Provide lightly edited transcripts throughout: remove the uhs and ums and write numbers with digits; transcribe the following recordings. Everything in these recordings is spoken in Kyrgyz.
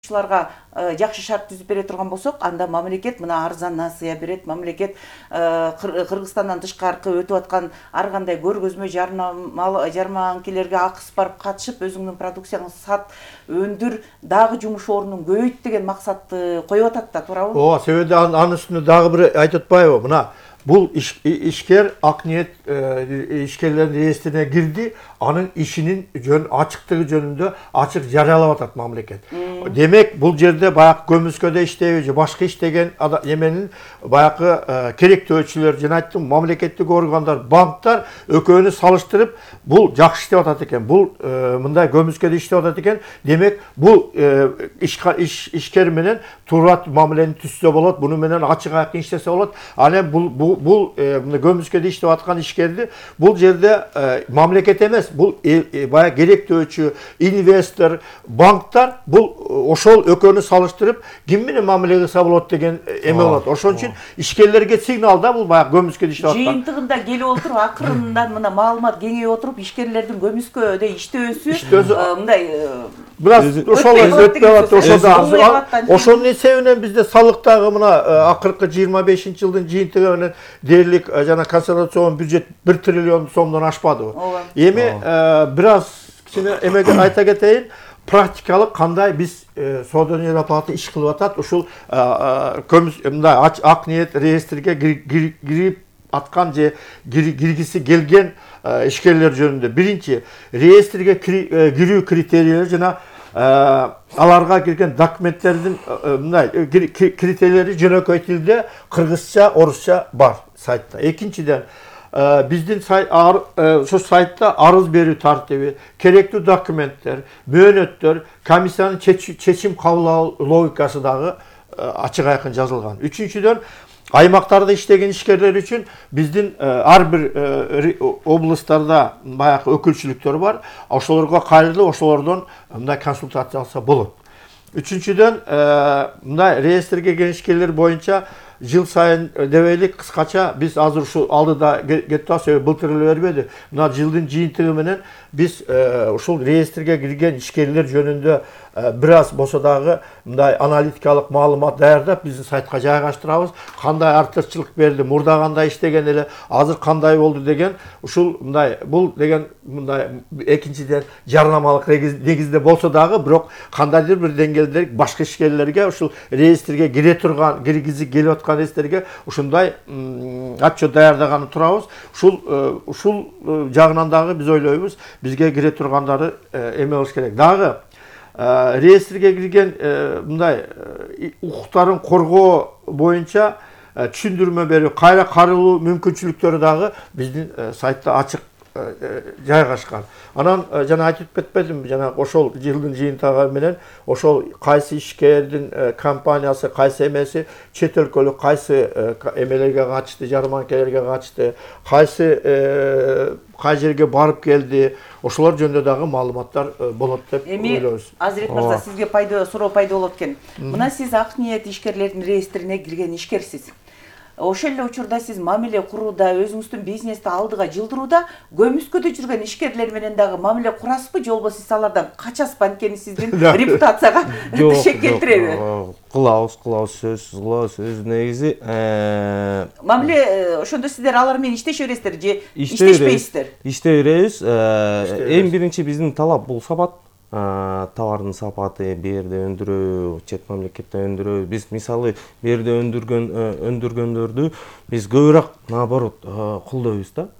жакшы шарт түзүп бере турган болсок, анда мамлекет мына арзан насыя берет, мамлекет Кыргызстандан тышкаркы өтүп аткан ар кандай көргөзмө жарманкелерге акысып барып катышып, өзүңдүн продукцияңды сат, өндүр, дагы жумуш орнун көбөйт деген максатты коюп атат да, туурабы? Ооба, себеби анын үстүнө дагы бир айтып атпайбы? Мына бул ишкер Акниет ишкерлердин реестрине кирди, анын ишинин ачыктыгы жөнүндө ачык жарыялап атат мамлекет. Демек, бул жерде баягы көмүскөдө иштеби же башка иштеген эменин баягы керектөөчүлөр, жана айттым, мамлекеттик органдар, банктар экөөнү салыштырып, бул жакшы иштеп атат экен, бул мындай көмүскөдө иштеп атат экен. Демек, бул ишкер менен туура мамилени түзсө болот, буну менен ачык айкын иштесе болот. Анан бул көмүскөдө иштеп аткан ишкерди бул жерде мамлекет эмес, бул баягы керектөөчү, инвестор, банктар бул ошол экөөнү салыштырып, ким менен мамиле кылса болот деген эме болот. Ошон үчүн ишкерлерге сигнал да бул баягы көмүскөдө иштеп аткан. Жыйынтыгында келип отуруп, акырындан мына маалымат кеңейип отуруп, ишкерлердин көмүскөдө иштөөсү мындай бираз ошонун эсебинен бизде салыктагы мына акыркы 25-жылдын жыйынтыгы менен дээрлик жана консолидацион бюджет 1 триллион сомдон ашпадыбы. Эми бираз кичине эмеге айта кетейин, практикалык кандай биз Соода палата иш кылып атат, ушул мындай Акниет реестриге кирип аткан же киргиси келген ишкерлер жөнүндө. Биринчи, реестриге кирүү критерийлери жана аларга кирген документтердин мындай критерийлери жөнөкөй тилде кыргызча, орусча бар сайтта. Экинчиден, биздин ошо сайтта арыз берүү тартиби, керектүү документтер, мөөнөттөр, комиссиянын чечим кабыл логикасы дагы ачык айкын жазылган. Үчүнчүдөн, аймактарда иштеген ишкерлер үчүн биздин ар бир областтарда баягы өкүлчүлүктөр бар. Ошолорго кайрылып, ошолордон мындай консультация алса болот. Үчүнчүдөн, мындай реестрге кирген ишкерлер боюнча жыл сайын дебейлик кыскача биз азыр ушул алдыда кетип атабыз, былтыр эле бербеди. Мына жылдын жыйынтыгы менен биз ушул реестрге кирген ишкерлер жөнүндө бир аз болсо дагы мындай аналитикалык маалымат даярдап биздин сайтка жайгаштырабыз. Кандай артыкчылык берди, мурда кандай иштеген эле, азыр кандай болду деген ушул мындай бул деген мындай экинчиден жарнамалык негизде болсо дагы, бирок кандайдыр бир деңгээлде башка ишкерлерге ушул реестрге кире турган, киргизи келип аткан реестрге ушундай отчет даярдаганы турабыз. Ушул жагынан дагы биз ойлойбуз, бизге кире тургандары эме болуш керек. Дагы реестрге кирген мындай укуктарын коргоо боюнча түшүндүрмө берүү, кайра карылуу мүмкүнчүлүктөрү дагы биздин сайтта ачык жайгашкан. Анан жана айтып кетпедимби, жана ошол жылдын жыйынтыгы менен ошол кайсы ишкердин компаниясы, кайсы эмеси чет өлкөлүк кайсы эмелерге катышты, жарманкелерге катышты, кай жерге барып келди, ошолор жөнүндө дагы маалыматтар болот деп ойлойбуз. Азирет мырза, сизге суроо пайда болот экен. Мына сиз Акниет ишкерлердин реестрине кирген ишкерсиз. Ошол эле учурда сиз мамиле курууда, өзүңүздүн бизнести алдыга жылдырууда көмүскөдө жүргөн ишкерлер менен дагы мамиле курасызбы, же болбосо сиз алардан качасызбы? Анткени сиздин репутацияга тешек келтиреби? Кылабыз, сөзсүз кылабыз. Өзү негизи мамиле ошондо сиздер алар менен иштеше бересиздер же иштешпейсиздер? Иштей беребиз. Эң биринчи биздин талап бул сапат. Товардын сапаты, берде өндүрүү, чет мамлекетте өндүрүү. Биз мисалы берде өндүргөндөрдү биз көбүрөөк наоборот колдойбуз да.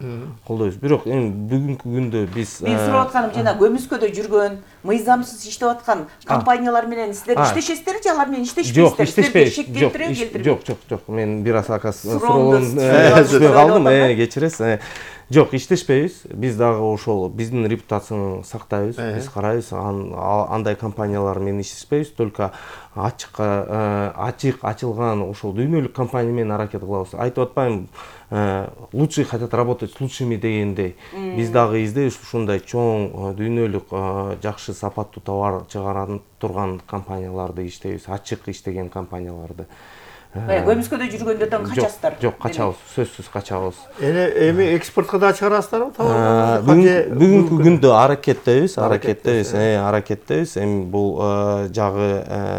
Колдойбуз. Бирок эми бүгүнкү күндө биз мен сурап атканым жана көмүскөдө жүргөн, мыйзамсыз иштеп аткан компаниялар менен сиздер иштешесиздер же алар менен иштешпейсиздер? Жок. Мен бир аз суроолорун түшүнбөй калдым, кечиресиз. Жок, иштешпейбиз. Биз дагы ошол биздин репутацияны сактайбыз. Биз карайбыз, андай компаниялар менен иштешпейбиз, только ачык ачылган ошол дүйнөлүк компания менен аракет кылабыз. Айтып атпайм, лучшие хотят работать с лучшими дегендей. Биз дагы издейбиз ушундай чоң дүйнөлүк жакшы сапаттуу товар чыгара турган компанияларды иштейбиз, ачык иштеген компанияларды. көмүскөдө жүргөндөрдөн качасыздар. Жок, качабыз, сөзсүз качабыз. Эми экспортко да чыгарасыздарбы? Бүгүнкү күндө аракеттебиз. Эми бул жагы